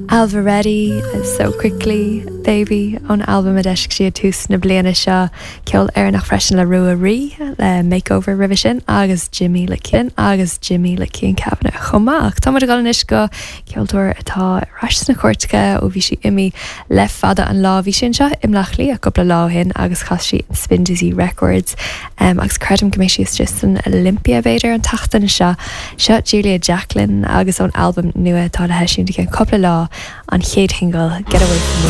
Ailbhe Reddy, So Quickly, Baby ón albam a d'eisigh sí ag tús na bliana seo. Ceol Éireannach freisin le Rua Rí le Makeover roimhe sin agus Jimmy le Cian agus Jimmy le Cian Kavanagh chomh maith. Ach tá muid ag dul anois go ceoltóir atá ar ais sna cúirteacha ó bhí sí imithe le fada an lá. Bhí sí anseo i mBleá Cliath cúpla lá ó shin agus chas sí in Spindizzy Records agus creidim go mbeidh sí istigh san Olympia b'fhéidir an tseachtain seo. Seo Julia Jacklin agus ón albam nua atá le heisiúint i gceann cúpla lá, an chéad shingil, Get Away From Me.